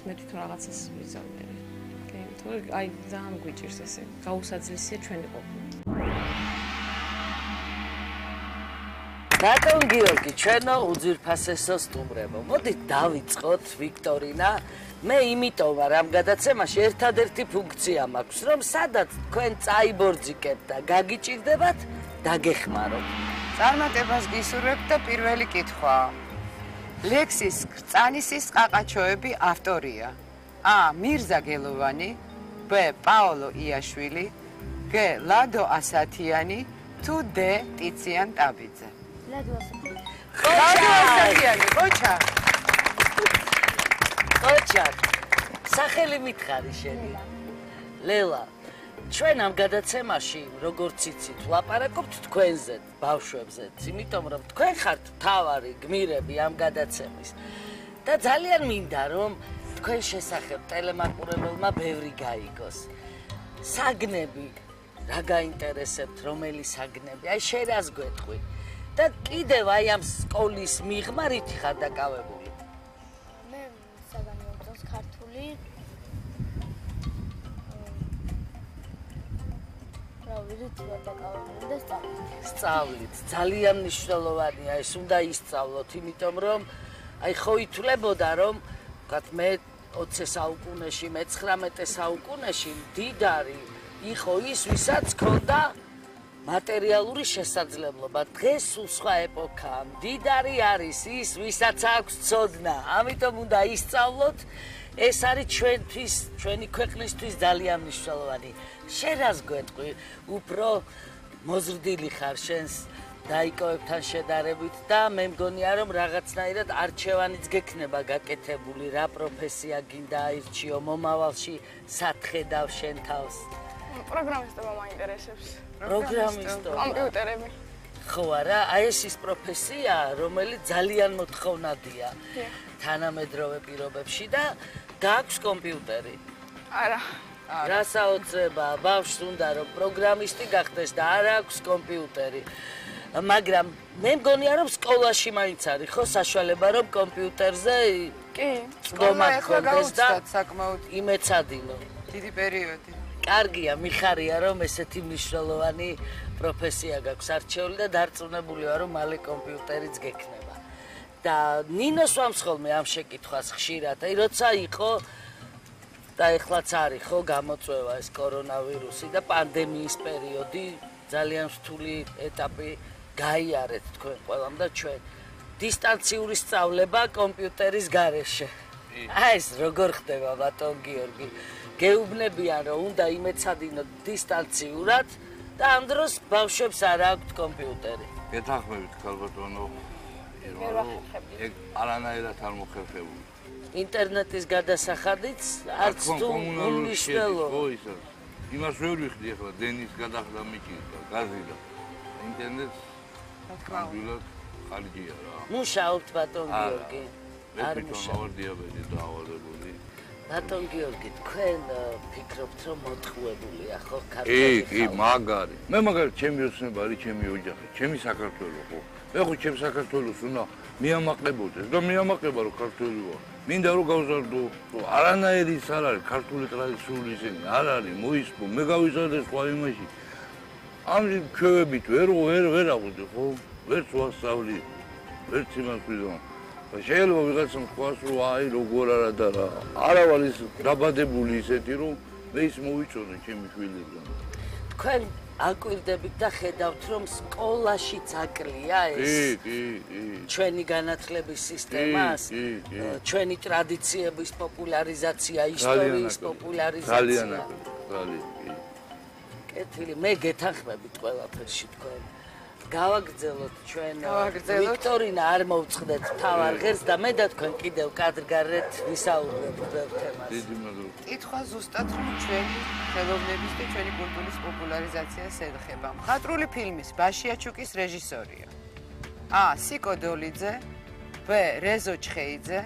მე თვითონ რაღაცას ვიზამნები. თორე აი ძალიან გვიჭირს ესე. გაუსაძლისია ჩვენი ყოფნა. ბატონ გიორგი, ჩვენო უძვირფასესო სტუმრებო, მოდით დავიწყოთ ვიქტორინა. მე იმიტომ ვარ ამ გადაცემაში ერთადერთი ფუნქცია მაქვს, რომ სადაც თქვენ წაიბორძიკებთ და გაგიჭირდებათ, დაგეხმაროთ. წარმატებას გისურვებთ და პირველი კითხვა. ლექსის კრწანისის ყაყაჩოები ავტორია: ა. მირზა გელოვანი, ბ. პაოლო იაშვილი, გ. ლადო ასათიანი, თუ დ. ტიციან ტაბიძე. ლადო ასათიანი, ყოჩა. ყოჩა. სახელი მითხარი შენი. ლელა. ჩვენ ამ გადაცემაში, როგორც იცით, ვლაპარაკობთ თქვენზე, ბავშვებზე, იმიტომ რომ თქვენ ხართ მთავარი გმირები ამ გადაცემის. და ძალიან მინდა რომ თქვენ შესახებ ტელემაყურებელმა ბევრი გაიგოს. საგნები, რა გაინტერესებთ, რომელი საგნები? აი შენ რას გვეტყვი? და კიდევ აი ამ სკოლის მიღმა რითი ხარ დაკავებული? მე საგანი მომწონს ქართული. სწავლით. ძალიან მნიშვნელოვანია ეს, უნდა ისწავლოთ, იმიტომ რომ აი ხო ითვლებოდა რომ ვთქვათ მე 20 საუკუნეში, მე-19 საუკუნეში მდიდარი იყო ის, ვისაც ჰქონდა მატერიალური შესაძლებლობა. დღეს სულ სხვა ეპოქაა. მდიდარი არის ის, ვისაც აქვს ცოდნა. ამიტომ უნდა ისწავლოთ. ეს არის ჩვენთვის, ჩვენი ქვეყნისთვის ძალიან მნიშვნელოვანი. შენ რას გვეტყვი? უფრო მოზრდილი ხარ შენს დაიკავებთან შედარებით და მე მგონია რომ რაღაცნაირად არჩევანიც გექნება გაკეთებული, რა პროფესია გინდა აირჩიო მომავალში, სათხედავ შენ თავს. პროგრამისტობა მაინტერესებს. პროგრამისტობა. კომპიუტერები. ხო არა, აი ეს ის პროფესია, რომელიც ძალიან მოთხოვნადია თანამედროვე პირობებში და გააქვს კომპიუტერი. არა. რა საოცრება, ბავშვს უნდა რომ პროგრამისტი გახდეს და არ აქვს კომპიუტერი. მაგრამ მე მგონია რომ სკოლაში მაინც არის ხო საშუალება რომ კომპიუტერზე კი, სკოლა ახლა გაუცდათ საკმაოდ იმეცადინო. დიდი პერიოდი. კარგია, მიხარია რომ ესეთი მნიშვნელოვანი პროფესია გაქვს არჩეული და დარწმუნებული ვარ რომ მალე კომპიუტერიც გექნება. და ნინოს ვამსხოლმე ამ შეკითხვას ხშირად. აი როცა იყო და ეხლაც არის ხო გამოწვევა ეს კორონავირუსი და პანდემიის პერიოდი, ძალიან რთული ეტაპი გაიარეთ თქვენ ყველამ და ჩვენ. დისტანციური სწავლება კომპიუტერის გარეშე. აი ეს როგორ ხდება ბატონ გიორგი? გეუბნებიან რომ უნდა იმეცადინოთ დისტანციურად და ამ დროს ბავშვებს არ აქვთ კომპიუტერი. გეთანხმებით ქალბატონო. ეგ არანაირად არ მოხერხებული. ინტერნეტის გადასახადიც არც თუ უმნიშვნელო. ხო ისა. იმას ვერ ვიხდი ახლა დენის გადახდა მიჭირდა გაზი და ინტერნეტს თქმა ხარჯია რა. მუშაობთ ბატონ გიორგი. არ მუშაობ დიაბეტი დაავადებული. ბატონ გიორგი, თქვენ ფიქრობთ რომ მოტყუებულია ხო ქართული? კი, მაგარი. მე მაგარი ჩემი ოცნება არის, ჩემი ოჯახი, ჩემი საქართველო ხო. მე ხო ჩემ საქართველოს უნდა მიამაყებოდეს და მიამაყება რომ ქართველი ვარ. მინდა რომ გავზარდო, არანაირი ის არ არის ქართული ტრადიციული ისინი, არ არის მოისპო, მე გავიზარდე სხვა იმაში. ამჟი ჩვევებით ვერ აღვდი ხო? ვერც ვასწავლი, ვერც იმას ვიზამ. შეიძლება ვიღაცამ თქვას რომ აი როგორ არა და რა. არა ვარ ის დაბადებული ისეთი რომ მე ის მოვიწოდე ჩემი შვილებთან. თქვენ აკვირდებით და ხედავთ რომ სკოლაშიც აკლია ეს ჩვენი განათლების სისტემას, ჩვენი ტრადიციების პოპულარიზაცია, ისტორიის პოპულარიზაცია. ძალიან. კეთილი, მე გეთანხმებით ყველაფერში თქვენ. გავაგრძელოთ ჩვენ ვიქტორინა არ მოვწყდეთ თავარ ღერს და მე და თქვენ კიდევ კადრგარეთ ვისაუბრებთ ბევრ თემას. დიდი მადლობა. კითხვა ზუსტად რომ ჩვენი ხელოვნების და ჩვენი კულტურის პოპულარიზაციას ეხება. მხატვრული ფილმის ბაშიაჩუკის რეჟისორია: ა. სიკო დოლიძე, ბ. რეზო ჩხეიძე,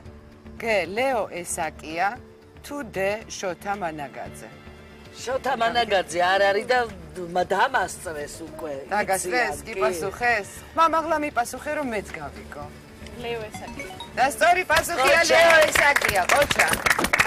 გ. ლეო ესაკია, თუ დ. შოთა მანაგაძე. შოთა მანაგაძე არ არის და დამასწრეს უკვე. დაგასწრეს, კი პასუხეს? მამაღლა მიპასუხე რომ მეც გავიგო. ლეო ესაკია. და სწორი პასუხია ლეო ესაკია, ყოჩა.